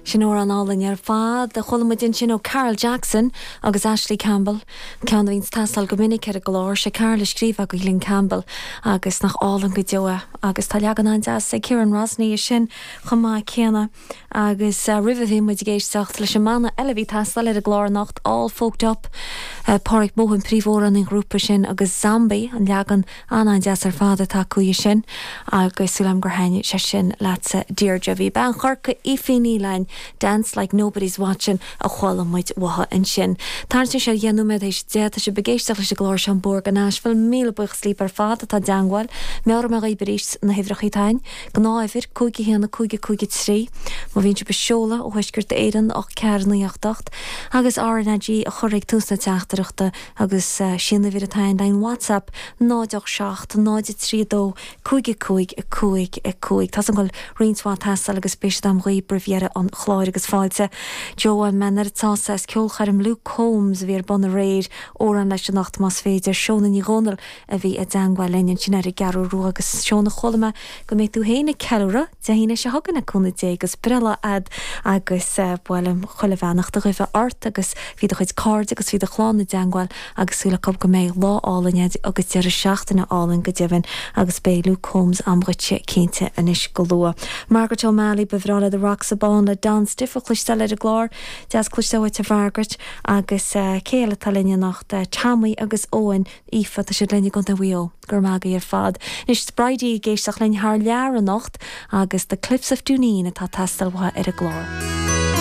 Sin amhrán álainn ar fad a chuala muid ansin ó Carl Jackson agus Ashley Campbell, ceann a bhíonns ag teastáil go minic ar an gclár. Sé Carl a scríobh é do Glen Campbell agus nach álainn go deo é. Agus tá leagan an-deas ag Ciarán Rosney as sin chomh maith céanna. Agus roimhe bhí muid ag éisteacht leis an mbanna eile a bhí ag teastáil ar an gclár anocht, All Folked Up, Páraic Mohan príomhamhránaí an ghrúpa sin agus Zombie, an leagan An-an-deas ar fad atá acu dhe sin agus súil agam gur thaitnigh sé sin leatsa Deirdre. Bhí bean Chorcaí Aoife Ní Fhlainn, Dance Like Nobody's Watching a chuala muid uaithi ansin. Tarraingt anois ar dheich nóiméad théis 10, tá sibh ag éisteacht leis an gclár seo An Bóthar go Nashville. Míle buíochas libh ar fad atá i dteangmháil. Meabhróidh mé dhaoibh arís na huimhreacha atá againn. Gnáthuimhir, 5 1 5 5 3. Má bhíonn sibh ag seoladh ó Thuaisceart Éireann, 8 4 9 8 8 agus RnaG a chur ag tús na teachtaireachta. Agus sí an uimhir atá againn le haghaidh WhatsApp, 0 8 7 0 3 2 5 5 5 5. Tá 's agam go bhfuil roinnt mhaith ag teastáil agus beidh siad agam dhaoibh roimh dheireadh an chláir agus fáilte. Joe bhain mé an oiread sásamh as ceolchoirm Luke Combs a bhí ar bun aréir, amhrán leis anocht más féidir. Shóna Ní Dhomhnaill a bhí i dteangmháil linn ansin ar an gCeathrú Rua agus Shóna chuala mé go mbeidh tú féin ag ceiliúradh Dé hAoine seo chugainn le cúnamh Dé agus breithlá a'd agus ba mhaith liom chuile bheannacht a ghuí ort agus bhí do chuid cairde agus bhí do chlann i dteangmháil agus súil acu go mbeidh lá álainn a'd agus deireadh seachtaine álainn go deimhin agus beidh Luke Combs a'm dhuitse cinnte anois go luath. Margaret O'Malley, ba bhreá lei The Rocks of Bawn le Don Stiffe a chloisteáil ar an gclár. Deas cloisteáil uait a Mhargaret agus cé eile atá linn anocht? Tommy agus Eoin, Aoife, tá siad linn i gContae Mhaigh Eo. Go raibh maith agaibh ar fad. Anois tá Bridie ag éisteacht linn thar lear anocht agus The Cliffs of Dooneen atá ag teastáil uaithi ar an gclár.